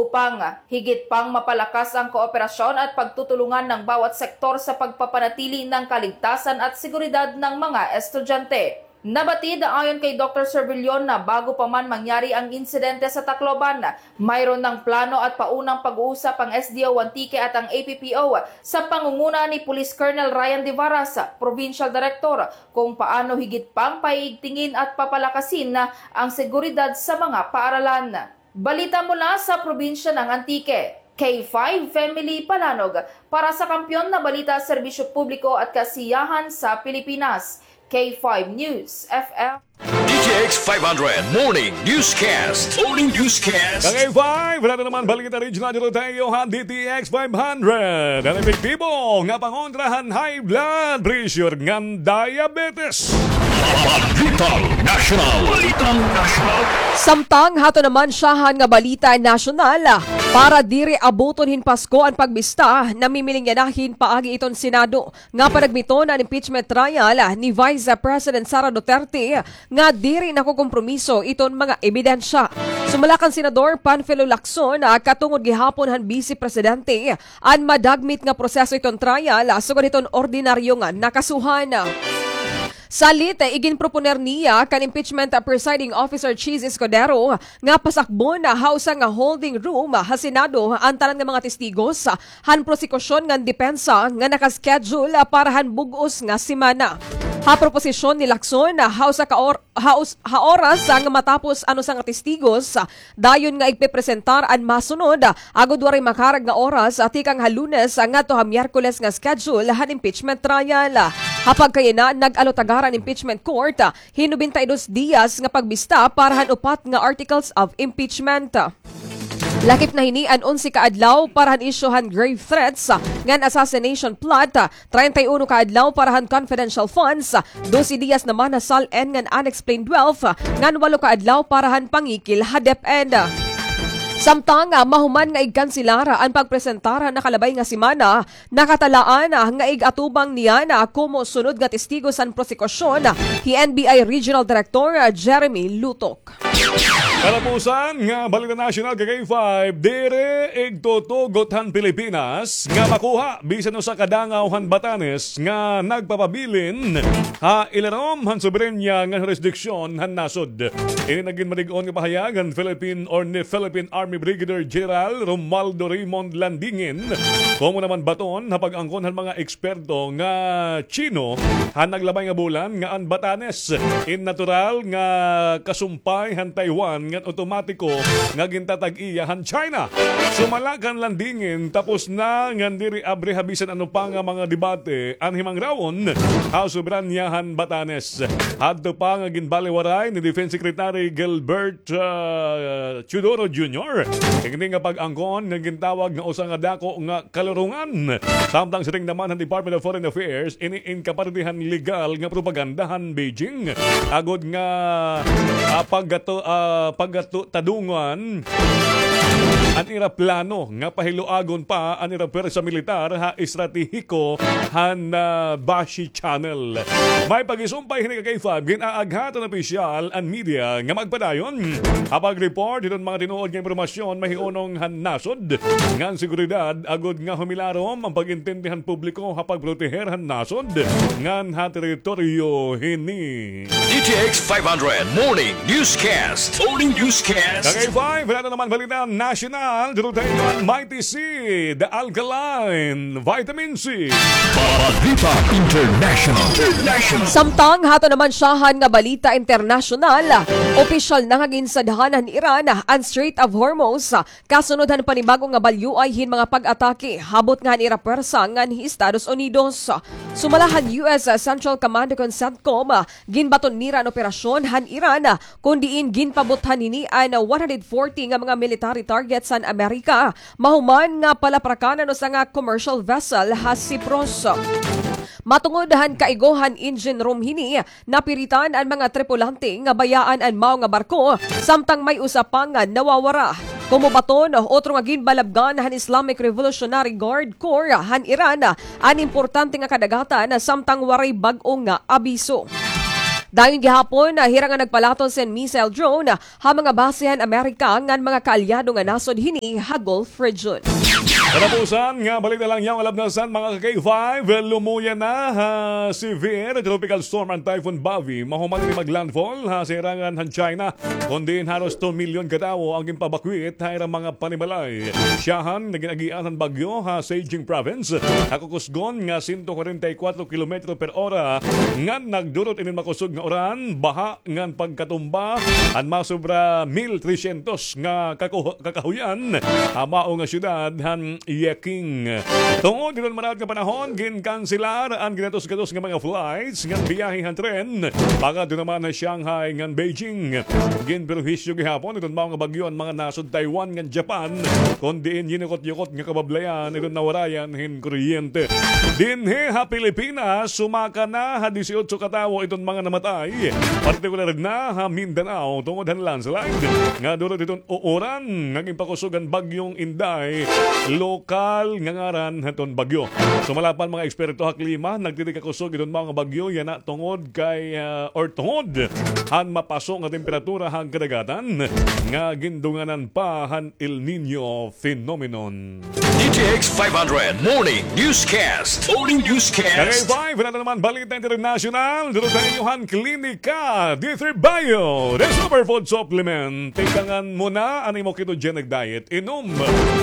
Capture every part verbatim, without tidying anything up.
upang higit pang mapalakas ang kooperasyon at pagtutulungan ng bawat sektor sa pagpapanatili ng kaligtasan at seguridad ng mga estudyante. Nabatid ayon kay Doktor Servillon na bago pa man mangyari ang insidente sa Tacloban, mayroon ng plano at paunang pag-uusap ang S D O Antique at ang A P P O sa pangunguna ni Police Colonel Ryan Devaras, Provincial Director, kung paano higit pang paiigtingin at papalakasin ang seguridad sa mga paaralan. Balita mula sa probinsya ng Antique. K five Family Palanog para sa kampiyon na balita, serbisyo publiko at kasiyahan sa Pilipinas. K five News F M. D T X five hundred Morning Newscast. Morning Newscast. Kag K five, wala na naman balita regional dito tayo ha D T X five hundred. Ang epektibo nga pangontra han high blood pressure ngan diabetes. Balitang National. Balitang National. Samtang hato naman syahan nga balita nasyonal, para diri abuton hin Pasko an pagbista, namimiling yana hin paagi iton Senado nga panagmiton an impeachment trial ni Vice President Sara Duterte nga diri nakokompromiso iton mga ebidensya. Sumala kan Senador Panfilo Lacson, ah, katungod gihapon han Vice Presidente an madagmit nga proseso iton trial, ah, sugad hiton ordinaryo nga nakasuhan. Salit, iginproponer niya kan impeachment presiding officer Chiz Escudero nga pasakbon ha usa nga holding room ha Senado an tanan nga mga testigos han prosekusyon ngan depensa nga naka-schedule para han bug-os nga semana. Ha proposisyon ni Lacson, ha usa ka or-, ha us-, ha oras nga matapos an usa nga testigos, dayon nga igpepresentar an masunod, agod waray makarag nga oras, ah, tikang ha Lunes, ah, ngadto ha Miyerkules nga schedule han impeachment trial. Ha pagkayana, nag-alutagar an impeachment court, ah, hin nobenta y dos diyas nga pagbista para han upat nga articles of impeachment. Lakip na hini an onse ka adlaw para han isyu han grave threats, ah, ngan assassination plot, ah, treinta y uno ka adlaw para han confidential funds, dose diyas naman ha SALN ngan unexplained wealth, ngan walo ka adlaw para han pangikil ha DepEd. Samtang, ah, mahuman nga igkanselar an pagpresentar han nakalabay nga semana, nakatalaan, ah, nga ig-atubang niyan, ah, komo sunod nga testigo san prosekusyon, ah, hi N B I Regional Director, ah, Jeremy Lutok. Katapusan nga balita nasyonal, ka K five, diri igtutugot han Pilipinas nga makuha bisan usa ka dangaw han Batanes nga nagpapabilin ha ilarom han soberanya ngan hurisdiksyon han nasod. Ini nagin malig-on nga pahayag han Philippine or ni Philippine Army Brigadier General Romualdo Raymond Landingin, komo naman baton ha pag-angkon han mga eksperto nga Chino han naglabay nga bulan nga an Batanes in natural nga kasumpay han Taiwan ngan otomatiko nga gintatag-iya han China. Sumala kan Landingin, tapos na ngan diri abre ha bisan ano pa nga mga debate an himangrawon ha soberanya han Batanes. Hadto pa nga ginbaliwaray ni Defense Secretary Gilbert, ah, Teodoro Junior ini nga pag-angkon nga gintawag nga usa nga dako nga kalurongan. Samtang siring naman han Department of Foreign Affairs, ini in kapartihan legal nga propaganda han Beijing agod nga, ah, paggato-, ah, paggato-, tadungan an ira plano nga pahiluagon pa an ira pwersa militar ha estratehiko han, ah, Bashi Channel. May pagisumpay hini ka K five, gin-aaghat han opisyal an media nga magpadayon ha pag-report hiton mga tinuod nga impormasyon mahihunong han nasod ngan seguridad agod nga humilarom an pag-intindi han publiko ha pagproteher han nasod ngan ha teritoryo hini. D T X five hundred Morning Newscast. Morning Newscast. Ka K five, wala na naman balita nasyonal, duro tayo an Mighty C, The Alkaline Vitamin C. Balita International. International. Samtang hato naman syahan nga balita internasyonal, opisyal na nga ginsadhan han Iran an Strait of Hormuz, kasunod han panibag-o nga balyoay hin mga pag-atake habot nga han ira pwersa ngan hi Estados Unidos. Sumala han U S Central Command kon CENTCOM, ginbaton nira an operasyon han Iran, kon diin ginpabuthan hini an one hundred forty nga mga military targets han Amerika, mahuman nga palaprakan an usa nga commercial vessel ha Cyprus. Matungod han kaigo han engine room hini, napiritan an mga tripulante nga bayaan an mao nga barko, samtang may usa pa nga nawawara. Komo baton, otro nga ginbalabgan han Islamic Revolutionary Guard Corps han Iran an importante nga kadagatan samtang waray bag-o nga abiso. Dayon gihapon, ah, hira nga nagpalaton sin missile drone, ah, ha mga base han Amerika ngan mga kaalyado nga nasod hini ha Gulf region. Katapusan nga balita la niyan, alabnasan, mga ka-K five, lumuya na ha severe tropical storm an Typhoon Bavi. Mahuman ini mag-landfall ha sirangan han China, kon diin haros two milyon ka tawo an ginpabakwit ha ira mga panimalay. Syahan nga gin-agian han bagyo ha Zhejiang Province, ha kukusgon nga sento kwarenta y kuwatro kilometro per ora, ngan nagdurot inin makusog nga uran, baha, ngan pagkatumba han masobra mil tresyentos nga kakuh-, kakahuyan ha mao nga syudad han Yeking. Tungod hiton maraot nga panahon, ginkanselar an ginatus-gatus nga mga flights ngan biyahe han tren pakadto naman ha Shanghai ngan Beijing. Ginperwisyo gihapon hiton mao nga bagyo an mga nasod Taiwan ngan Japan, kon diin yinukot-yukot nga kabablayan hiton nawarayan hin kuryente. Dinhi ha Pilipinas, sumaka na ha disiotso ka tawo iton mga namatay, partikular na ha Mindanao, tungod han landslide nga dulot hiton uuran nga ginpakusog han Bagyong Inday, lokal nga ngaran hiton bagyo. Sumala pa han mga eksperto ha klima, nagtitikakusog iton mga bagyo yana tungod kay, ah, or tungod han mapaso nga temperatura han kadagatan nga gindunganan pa han El Niño phenomenon. D T X five hundred Morning Newscast. Morning Newscast. Kagay five, nato naman balita internasyonal. Duro sa inyo han Klinika D three Bio, the superfood supplement. Tikangan mo na an imo ketogenic diet. Inom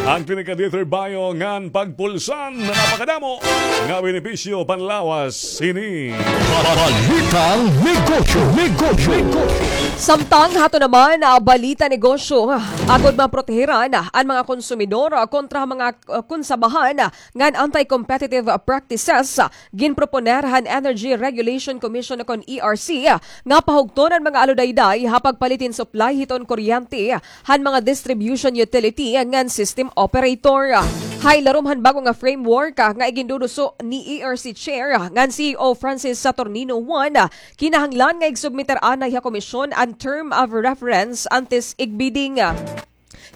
an Klinika D three Bio ngan pagpulsan. Napakadamo nga benepisyo panlawas hini. Balitang negosyo, negosyo, negosyo. Samtang hato naman, ah, balita negosyo, agod maprotehiran, ah, an mga konsumidor, ah, kontra mga, ah, konsabahan, ah, ngan anti-competitive, ah, practices, ah, ginproponer han Energy Regulation Commission o kon E R C, ah, nga pahugton an mga aludayday ha pagpalit hin supply hiton kuryente, ah, han mga distribution utility ngan system operator. Ha ilarom han bag-o nga framework, ah, nga iginduduso ni E R C Chair, ah, ngan C E O Francis Saturnino Juan, ah, kinahanglan nga igsubmitir anay ha komisyon an term of reference antes igbidding.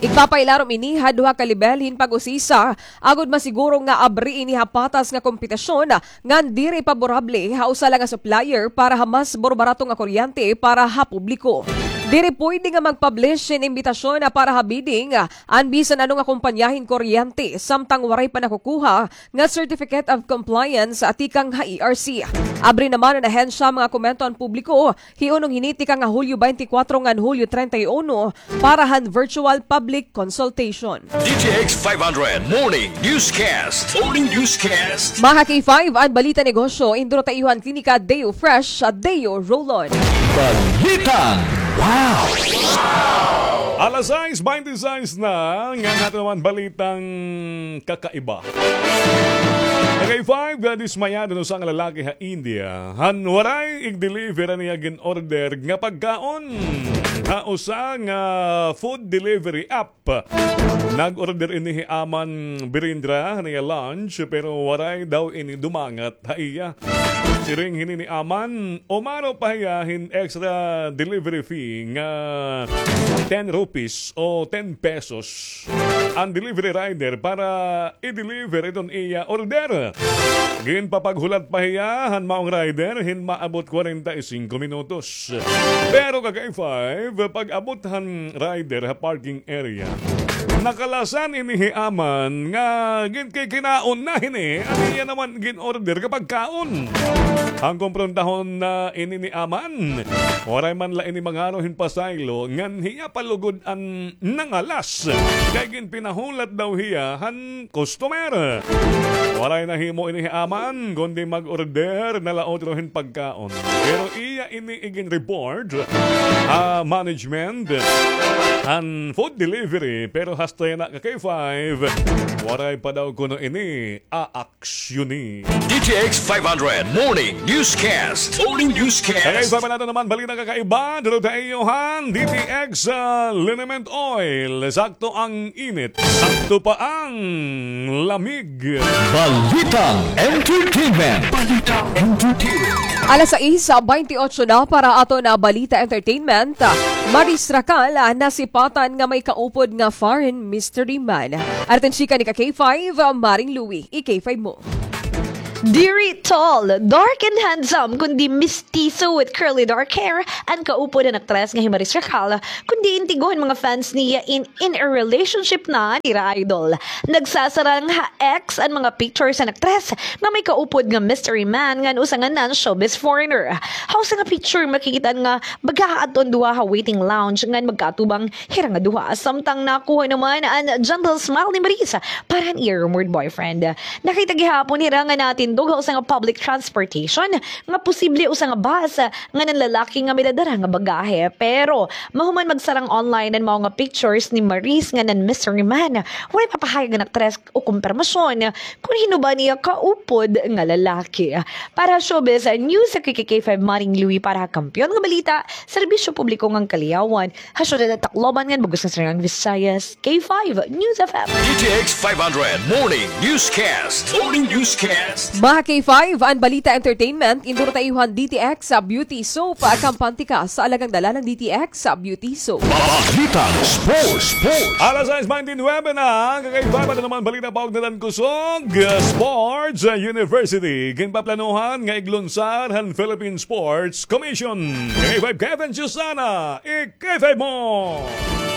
Igpapailarom ini ha duha ka lebel hin pag-usisa, agod masiguro nga abri ini ha patas nga kompetisyon, ngan diri paborable ha usa la nga supplier para ha mas burbarato nga kuryente para ha publiko. Diri pwede nga mag-publish hin imbitasyon para ha bidding an bisan ano nga kompanya hin kuryente samtang waray pa nakukuha nga Certificate of Compliance tikang ha E R C. Abri naman an ahensya mga komento an publiko hiunong hini tikang ha Hulyo twenty-four ngan Hulyo treinta y uno para han virtual public consultation. D T X five hundred Morning Newscast. Morning Newscast. Mga K five, an balita negosyo, induro ta iyo han Klinika Deo Fresh, Deo Roll-On. Balitang wow! Alas sais bente sais na, ngan hato naman balitang kakaiba. Kagay five, dismayado an usa nga lalaki ha India han waray igdeliver an iya gin-order nga pagkaon ha usa nga food delivery app. Nag-order ini hi Aman Birindra han iya lunch, pero waray daw ini dumangat ha iya. Siring hini ni Aman, umaro pa hiya hin extra delivery fee nga ten rupees o ten pesos an delivery rider para i-deliver iton iya order. Ginpapaghulat pa hiya han maong rider hin maabot kwarenta y singko minutos. Pero kagay five, pag-abot han rider ha parking area, nakalasan ini hi Aman nga ginkikinaon na hini an iya naman gin-order nga pagkaon. An komprontahon na ini ni Aman, waray man la ini mangaro hin pasaylo ngan hiya pa lugod an nangalas, kay ginpinahulat daw hiya han customer. Waray nahimo ini hi Aman, kundi mag-order na la utro hin pagkaon. Pero iya ini igin-report ha management han food delivery, pero hasta yana, ka K five, waray pa daw kuno ini aaksyoni. D T X five hundred Morning Newscast. Morning Newscast. Kagay five, nato naman balita kakaiba, duro ta iyo han D T X, ah, liniment oil. Sakto ang init, sakto pa ang lamig. Balitang entertainment. Balitang entertainment. Alas sais bente otso na para aton balita entertainment. Maris Racal, ah, nasipatan nga may kaupod nga foreign mystery man. Aton chika ni ka K five, ah, Maring Louie, i-K five mo. Diri tall, dark and handsome, kundi mestizo with curly dark hair an kaupod han aktres nga hi Maris Racal, kundi intigo han mga fans niya in, in a relationship na nira idol. Nagsasarang ha X an mga pictures han aktres nga may kaupod nga mystery man ngan usa nga non-showbiz foreigner. Ha usa nga picture makikita nga baga adto an duha ha waiting lounge ngan magkaatubang hira nga duha. Samtang nakuha naman an gentle smile ni Maris para han iya rumored boyfriend. Nakita gihapon hira nga natindog ha usa nga public transportation nga posible usa nga bus ngan an lalaki nga may dadara nga bagahe. Pero mahuman magsarang online an mao nga pictures ni Maris ngan an mystery man, walay papahayag an aktres o kumpirmasyon kon hin-o ba an iya kaupod nga lalaki. Para ha showbiz news, ako hi K five Maring Louie para ha Kampiyon nga Balita, Serbisyo Publiko ngan Kaliyawan, ha syudad han Tacloban ngan bug-os nga Sinurang Visayas, K five News F M. D T X five hundred Morning Newscast. Morning Newscast. Mga K five, an balita entertainment, induro ta iyo han D T X sa Beauty Soap. Kampante ka sa alagang dalalang D T X sa Beauty Soap. Balitang sports, sports. Alas sais bente nuebe na, K five, ano naman balita paugnadan kusog sports, ah, university. Ginpaplanuhan nga iglunsar han Philippine Sports Commission. K five Kevin Susana, i-K five mo.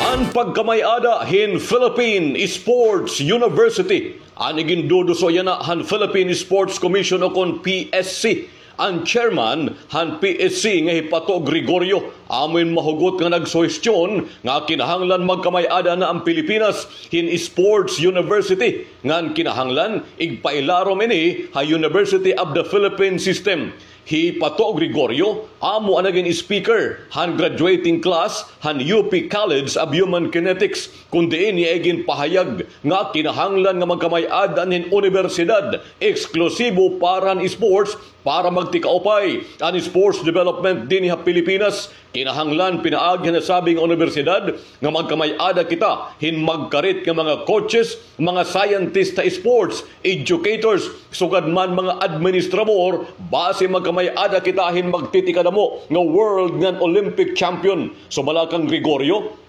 An pagkamay-ada hin Philippine Sports University, an iginduduso yana han Philippine Sports Commission o kon P S C. An chairman han P S C nga hi Pato Gregorio, amo in mahugot nga nagsuhestyon nga kinahanglan magkamay-ada na an Pilipinas hin sports university, ngan kinahanglan igpailarom ini ha University of the Philippines system. Hi Pato Gregorio, amo an nagin speaker han graduating class han U P College of Human Kinetics, kun diin iya iginpahayag nga kinahanglan nga magkamay-ada hin unibersidad eksklusibo para han sports para magtikaupay an sports development dinhi ha Pilipinas. Kinahanglan pinaagi han nasabi nga unibersidad nga magkamay-ada kita hin magkarit nga mga coaches, mga scientist ha sports, educators, sugad man mga administrador, basi magkamay-ada kita hin magtitikadamo nga world ngan Olympic champion. Sumala kan Gregorio,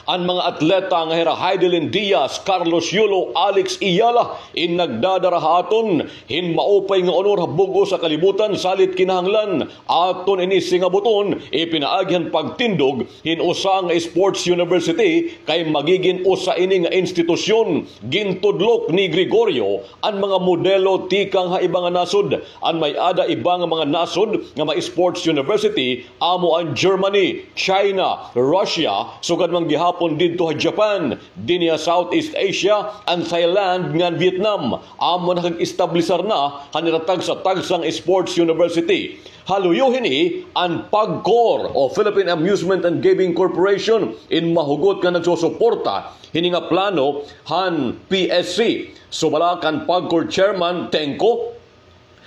an mga atleta nga hira Heidelin Diaz, Carlos Yulo, Alex Eala, in nagdadara ha aton hin maupay nga onor ha bug-os nga kalibutan, salit kinahanglan aton ini singabuton, ipinaagi han pagtindog hin usa nga sports university kay magigin usa ini nga institusyon. Gintudlok ni Gregorio an mga modelo tikang ha iba nga nasod. An may-ada iba nga mga nasod nga may sports university amo an Germany, China, Russia, sugad man gihapon didto ha Japan, dinhi ha Southeast Asia, an Thailand ngan Vietnam. Amo nakag-establisar na han ira tagsa-tagsa nga sports university. Ha luyo hini, an PAGCOR o Philippine Amusement and Gaming Corporation in mahugot nga nagsusuporta hini nga plano han P S C. Sumala kan PAGCOR Chairman Tengco,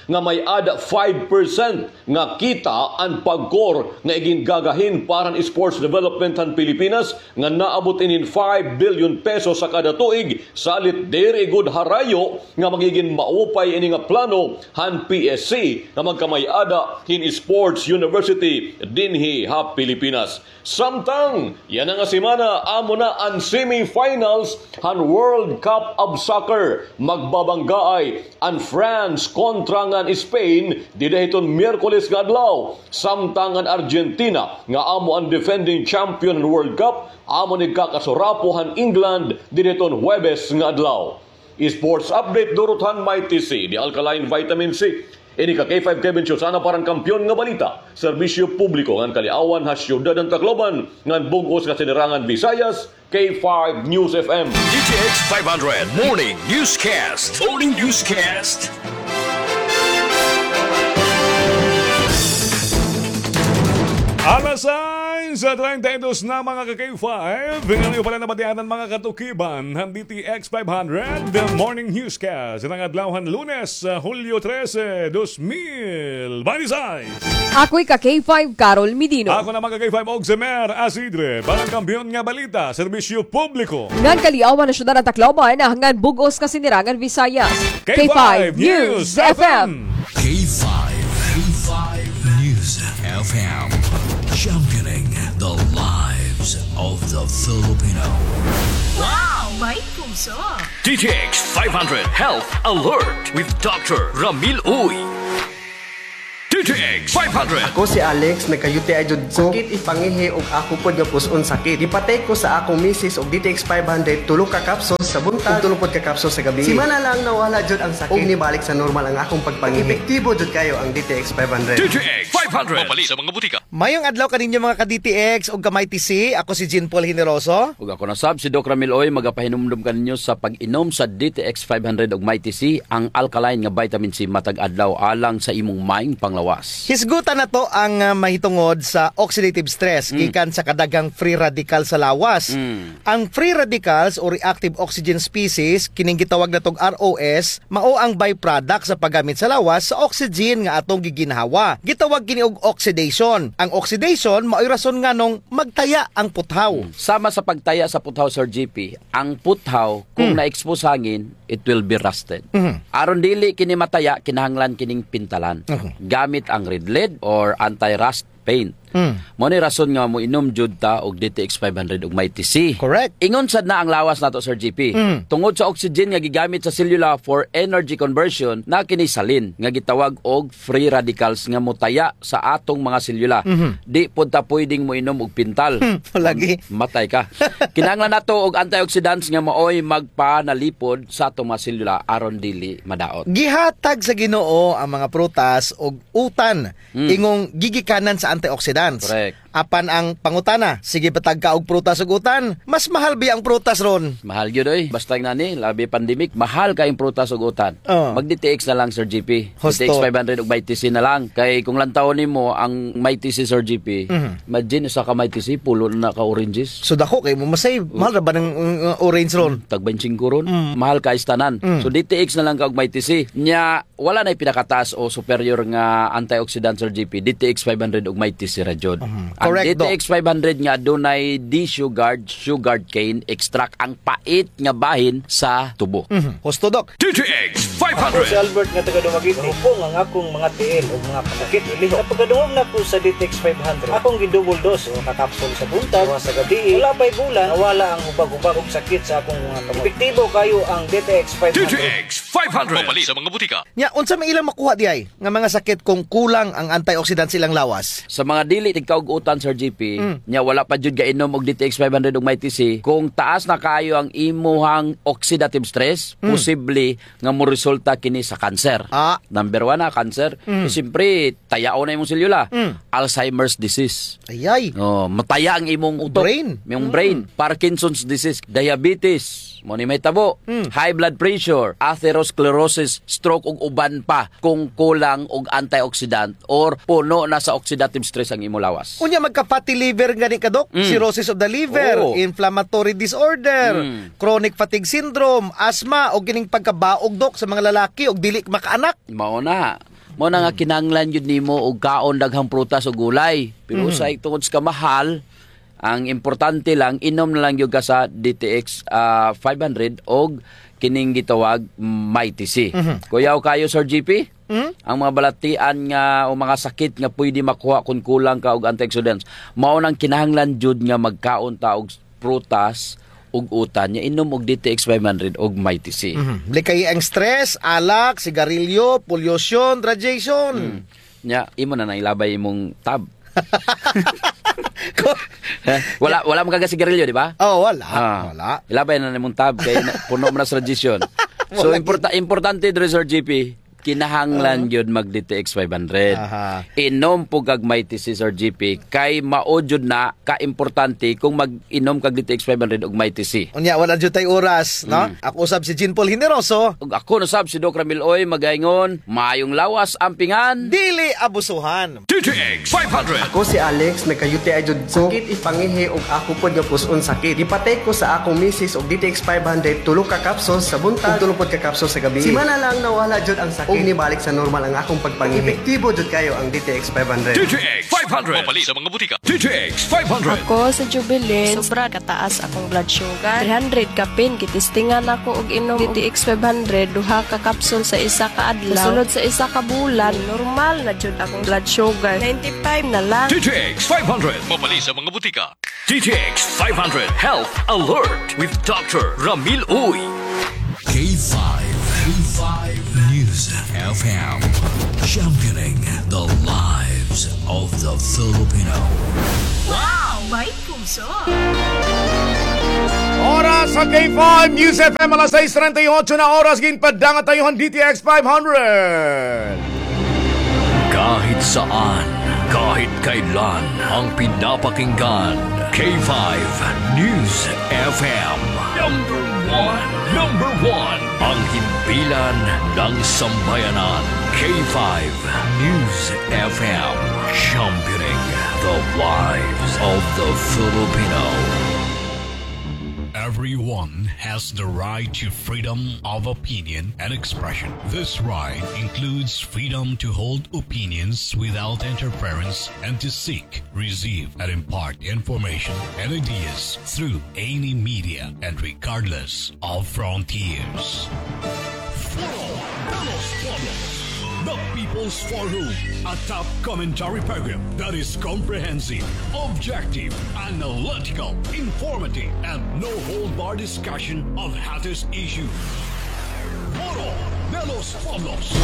nga may-ada five percent nga kita an PAGCOR nga igingagahin para han sports development han Pilipinas, nga naabot inin five billion pesos ha kada tuig, salit diri gud harayo nga magigin maupay ini nga plano han P S C nga magkamay-ada hin sports university dinhi ha Pilipinas. Samtang yana nga semana, amo na an semifinals han World Cup of Soccer. Magbabanggaay an France kontra ngan Spain dida hiton Miyerkules nga adlaw, samtang an Argentina nga amo an defending champion han World Cup, amo ini kakasurapo han England dida hiton Huwebes nga adlaw. Sports update durot han Mighty C, the alkaline vitamin C. Ini ka K five Kevin Susana para han Kampiyon nga Balita, Serbisyo Publiko ngan Kaliawan ha Syudad han Tacloban ngan bug-os nga Sinirangan Visayas, K five News F M. D T X five hundred Morning Newscast. Morning Newscast. Alas sais treinta y dos na, mga ka-K five. Ngayon pala nabatian an mga katukiban han D T X five hundred Morning Newscast. An adlaw han Lunes, ah, Hulyo trese, dos mil binte y seis. Ako hi ka-K five, Carol Medino. Ako naman ka-K five, Oximer Asidre. Para han Kampiyon nga Balita, Serbisyo Publiko ngan Kaliawan ha Syudad han Tacloban ngan bug-os nga Sinirangan Visayas, K five News F M. K five, K five News F M. Championing the lives of the Filipino. Wow! May puso. D T X five hundred Health Alert with Doctor Ramil Uy. D T X five hundred. Ako si Alex, nagka-U T I jud ko. Sakit it pangihi ug ako pod nga pus-on sakit. Gipa-take ko sa akong misis og D T X five hundred, tulo ka capsules sa buntag, tulo pod ka capsules sa gabii. Semana lang nawala jud ang sakit ug nibalik sa normal ang akong pagpangihi. Epektibo jud kayo ang D T X five hundred. D T X five hundred. Mapalit sa mga butika. Mayong adlaw kaninyo, mga ka-D T X ug ka-Mighty C. Ako si Jean Paul Generoso. Ug ako na sab si Doc Ramil Uy, magapahinumdom kaninyo sa pag-inom sa D T X five hundred ug Mighty C, ang alkaline nga vitamin C matag adlaw alang sa imong maayong panglawas. Hisgutan nato ang, ah, mahitungod sa oxidative stress gikan sa kadaghang free radical sa lawas. Mm. Ang free radicals o reactive oxygen species, kining gitawag natog R O S, mao ang byproduct sa paggamit sa lawas sa oxygen nga atong giginhawa. Gitawag kini og oxidation. Ang oxidation mao'y rason nganong magtaya ang puthaw. Hmm. Sama sa pagtaya sa puthaw, Sir G P, ang puthaw, kung na-expose hangin, it will be rusted. Mhm. Aron dili kini mataya, kinahanglan kining pintalan. Mhm. Gamit ang Red Lead or anti-rust paint. Mm. Mao ni rason nga moinom jud ta og D T X five hundred ug Mighty C. Correct. Ingon sad na ang lawas nato, Sir G P. Mm. Tungod sa oxygen nga gigamit sa selula for energy conversion, na kini salin nga gitawag og free radicals nga motaya sa atong mga selula. Mhm. Di pod ta pwedeng moinom og pintal. Hmm, lagi. Matay ka. Kinahanglan nato og antioxidants nga maoy magpanalipod sa atong mga selula aron dili madaot. Gihatag sa Ginoo ang mga prutas og utan. Mm. Ingong gigikanan sa antioxidants. Correct. Apan ang pangutana, sige ba ta og prutas ug utan? Mas mahal biya ang prutas ron? Mahal gyud, oy. Basta ngani, labi pandemic, mahal kaayo ang prutas ug utan. Oh. Mag D T X na lang, Sir G P. Husto. D T X five hundred ug Mighty C na lang. Kay kung lantawon nimo ang Mighty C, Sir G P, mhm, imagine, usa ka Mighty C, pulo na ka oranges. So, dako kay mo masay, mahal ra ba ng, uh, orange ron? Tag baynte singko ron. Mm. Mahal kaayo tanan. Mm. So, D T X na lang ka og Mighty C. Nya, wala na'y pinakataas o superior nga antioxidant, Sir G P, D T X five hundred ug Mighty C ra jud. Mhm. Correct, Doc. Ang D T X five hundred nga adunay D-Sugard, sugarcane extract, ang pait nga bahin sa tubo. Mhm. Husto, Doc. D T X five hundred. Ako si Albert nga taga Dumaguete. Hupong ang akong mga tiil ug mga kasakit, iliho. Sa pagkadungog nako sa D T X five hundred, akong gi-double dose, usa ka kapsul sa buntag, duha sa gabii. Wala pa'y bulan, nawala ang hubag-hubag ug sakit sa akong mga kamot. Epektibo kaayo ang D T X five hundred. D T X five hundred. Mapalit sa mga butika. Nya, unsa may ilang makuha diay nga mga sakit kung kulang ang antioxidant sa ilang lawas? Sa mga dili tigkaug-utan, Sir G P, mm, nya wala pa jud gainom og D T X five hundred ug Mighty C, kung taas na kaayo ang imuhang oxidative stress, mm, posible nga moresulta kini sa cancer. Ah. Number one na cancer. Mm. So, siyempre, tayaon na imong selula. Mm. Alzheimer's disease. Ayay. Oh, mataya ang imong utok. Brain. Imong brain. Mm. Parkinson's disease, diabetes. Mao ni mahitabo. Mm. High blood pressure, atherosclerosis, stroke, ug uban pa kung kulang og antioxidant or puno na sa oxidative stress ang imo lawas. Unya, magka-fatty liver gani ka, Doc? Mm. Cirrhosis of the liver, oo, inflammatory disorder, mm, chronic fatigue syndrome, asthma, o kining pagkabaog, Doc, sa mga lalaki og dili makaanak. Mao na. Mao na nga, mm, kinahanglan gyud nimo og kaon daghang prutas o gulay. Pero, mhm, usahay tungod sa kamahal, ang importante lang, inom na lang gyud ka sa D T X, ah, five hundred og kining gitawag Mighty C. Mhm. Kuyaw kaayo, Sir G P? Mhm. Ang mga balatian nga o mga sakit nga pwede makuha kung kulang ka og antioxidants, mao nang kinahanglan jud nga magkaon ta og prutas ug utan, nya inom og D T X five hundred og Mighty C. Mhm. Likayi ang stress, alak, sigarilyo, pollution, radiation. Mm. Nya, imo na nang ilabay imong tab. Ko- Eh, wala, wala man ka gasigarilyo, di ba? Oh, wala. Ah. Wala. Ilabay na nimong tab kay na, puno man na sa radiation. So, wala importa-, importante diri, Sir G P, kinahanglan gyud mag D T X five hundred. Aha. Inom pod kag Mighty C, Sir G P, kay mao jud na ka importante kung mag-inom kag D T X five hundred ug Mighty C. Unya, wala jud tay oras, no? Mm. Ako usab si Jean Paul Generoso. Ug ako na sab si Doc Ramil Uy, magaingon, maayong lawas, ampingan. Dili abusuhan. D T X five hundred. Ako si Alex, nagka-U T I jud ko. Sakit it pangihi ug ako pod nga pus-on sakit. Gipa-take ko sa akong misis og D T X five hundred, tulo ka capsules sa buntag, ug tulo pod ka capsules sa gabii. Semana lang nawala jud ang sakit. Inibalik sa normal ang akong pagpangihi. Epektibo jud kayo ang D T X five hundred. D T X five hundred. Mapalit sa mga butika. D T X five hundred. Ako si Jubilin. Sobra kataas akong blood sugar. Three hundred kapin, gitistingan ako og inom D T X five hundred, duha ka kapsul sa isa ka adlaw. Sulod sa isa ka bulan, normal na jud akong blood sugar. Ninety-five na lang. D T X five hundred. Mapalit sa mga butika. D T X five hundred Health Alert with Doctor Ramil Uy. K five, K five News F M, championing the lives of the Filipino. Wow! May puso! Oras sa K five News F M, alas sais treinta y ocho na oras, ginpadangat tayo han D T X five hundred. Kahit saan, kahit kailan, ang pinapakinggan, K five News F M. Number one, number one, ang himpilan ng sambayanan, K five News F M, championing the lives of the Filipino. Everyone has the right to freedom of opinion and expression. This right includes freedom to hold opinions without interference and to seek, receive, and impart information and ideas through any media and regardless of frontiers. Foro de los Pueblos, the People's Forum, a top commentary program that is comprehensive, objective, analytical, informative, and no-hold-bar discussion of hottest issues. Foro de los Pueblos.